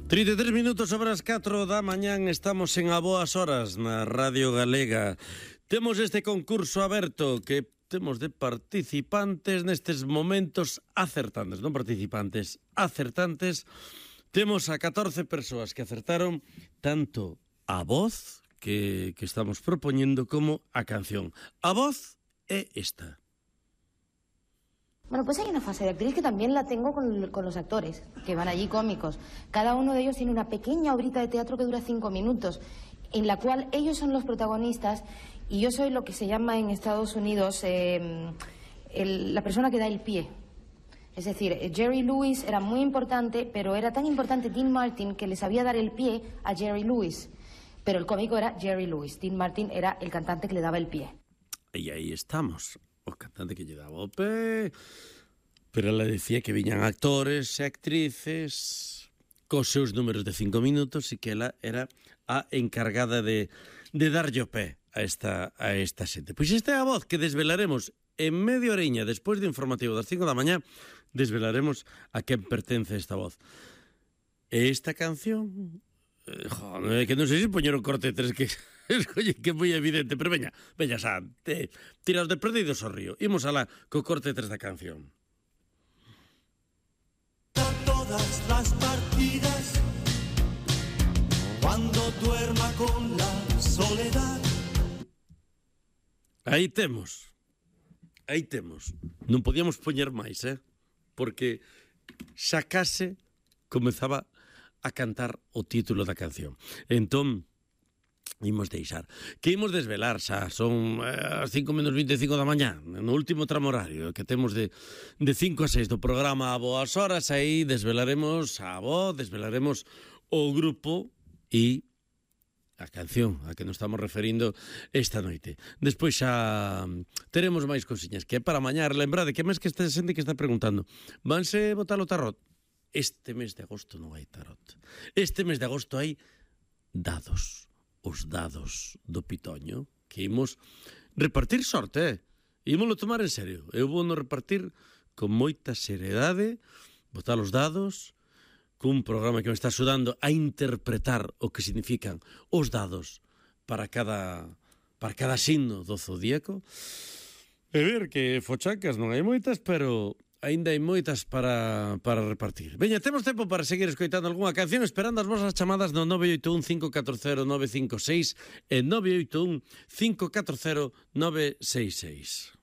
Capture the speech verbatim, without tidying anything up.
trinta e tres minutos sobre as catro da mañán, estamos en A Boas Horas na Radio Galega. Temos este concurso aberto que temos de participantes nestes momentos acertantes, non participantes, acertantes. Temos a catorce persoas que acertaron tanto a voz que, que estamos propoñendo como a canción. A voz é esta. Bueno, pues hay una fase de actriz que también la tengo con, con los actores, que van allí cómicos. Cada uno de ellos tiene una pequeña obrita de teatro que dura cinco minutos, en la cual ellos son los protagonistas y yo soy lo que se llama en Estados Unidos eh, el, la persona que da el pie. Es decir, Jerry Lewis era muy importante, pero era tan importante Dean Martin que le sabía dar el pie a Jerry Lewis. Pero el cómico era Jerry Lewis. Dean Martin era el cantante que le daba el pie. E aí estamos. O cantante que lle daba o pé, pero ela decía que viñan actores e actrices cos seus números de cinco minutos e que ela era a encargada de, de darlle o pé a esta, a esta xente. Pois esta é a voz que desvelaremos en media oriña despois do informativo das cinco da mañá, desvelaremos a quen pertence esta voz. E esta canción, eh, joder, que non sei se poñer o corte tres que... Oye, que moi evidente, pero veña, veña, xa, te, tiraos de perdidos ao río. Imos alá co corte tres da canción. Todas las partidas, cuando duerma con la soledad. Aí temos, aí temos. Non podíamos poñer máis, eh? Porque xa case comezaba a cantar o título da canción. Entón, imos deixar. Que imos desvelar xa, son eh, as cinco menos vinte e cinco da mañá, no último tramo horario que temos de, de cinco a seis do programa A Boas Horas. Aí desvelaremos a voz, desvelaremos o grupo e a canción a que nos estamos referindo esta noite. Despois xa teremos máis cosiñas que é para mañá. Lembrade que mes que esta xente que está preguntando, vanse botar o tarot? Este mes de agosto non hai tarot. Este mes de agosto hai dados. Os dados do Pitoño, que imos repartir sorte, eh? Imoslo tomar en serio. Eu vou no repartir con moita seriedade, botar os dados, cun programa que me está axudando a interpretar o que significan os dados para cada, para cada signo do zodíaco. E ver que fochacas non hai moitas, pero aínda hai moitas para, para repartir. Veña, temos tempo para seguir escoitando algunha canción, esperando as vosas chamadas no nove oito un cinco catro cero nove cinco seis e nove oito un cinco catro cero nove seis seis.